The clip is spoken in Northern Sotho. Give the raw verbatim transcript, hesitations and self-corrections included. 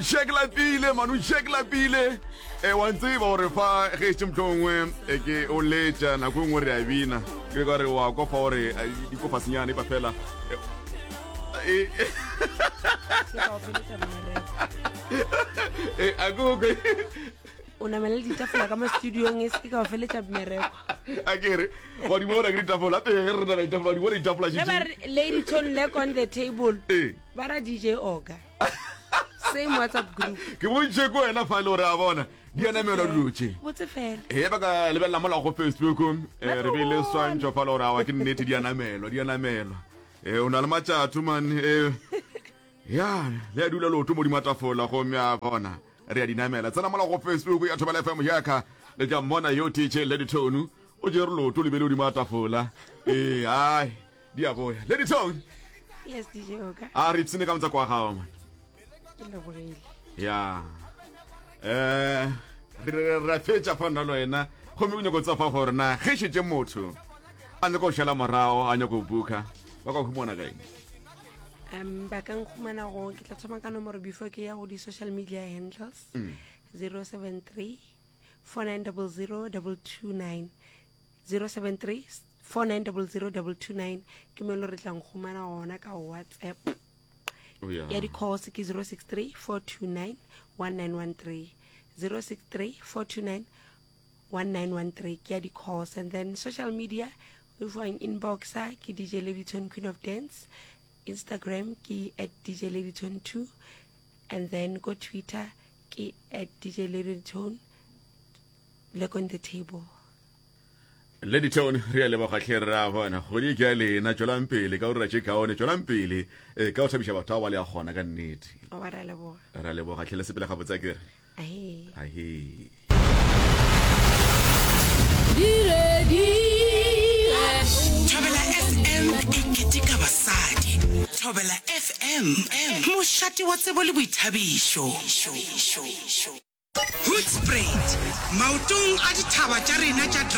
Jack Lapile manu Jack Lapile e wa ntseba gore fa ge etse motlho e ke o letša nako e nngwe re a bina ke ka re wa kofa gore eh, di kofa senyane pa fela eh, eh, Ke ka o feletša mmereko. eh, a ko ke o namele ditafola ka mo studiong e se ka o feletša mmereko a ke re wa di bona ke ditafola pele ge re na le ditafola di bona ditafola ge ba re lady tone leg on the table ee ba ra dj oka same whatsapp group ke bontšhe ko wena fa e le gore a bona di a namelwa dilo tše botse fela e ba ka lebelela mola go facebook eh, re beile swantšho fa le gore awa ke nnete di a namelwa di a namelwa um o na le matšatho man eh, ya le a dula leoto modimo a tafola gomme a bona re a di namela tsena mola go facebook ya thobela fm yaka le tla mmona yo tj lady tone o jere leoto le bele godimo a tafola ee ai di a boya lady tone yes dj oka a re ipsene ka motsako wa gago man ke lebogile ya eh re re- re a fetša fa nna le wena gomme o nyako tsa fa gore na ge šetse motho a nyako go šala morago a nyako go buka ba ka humana kae um ba ka nkhumana go ke tla thoma ka nomoro before ke ya go di-social media handles zero seven three four nine double zero double two nine zero seven three four nine double zero double two nine ke mo e le re tla nkhumana gona ka whatsapp Oh, yeah. ya di-calls ke zero six three four two nine one nine one three zero six three four two nine one nine one three ke ya di-calls and then social media o fang inboxa ke dj ladyton queen of dance instagram ke at dj ladyton two and then go twitter ke at dj ladyton leg on the table lady tone re a leboga tlhe re a bona kgodi ke ya lena tswelang pele ka go dira tše kaone tswelang pele eh, ka go thabiša batho ba ba le a kgona ka nnete oba ra leboga re a leboga tlhe le sepele gabotse a kere ahe ahe Thobela FM e keteka basadi. Thobela FM, mošate wa tsebo le boithabišo. Hoedspruit, maotong a dithaba tša rena tša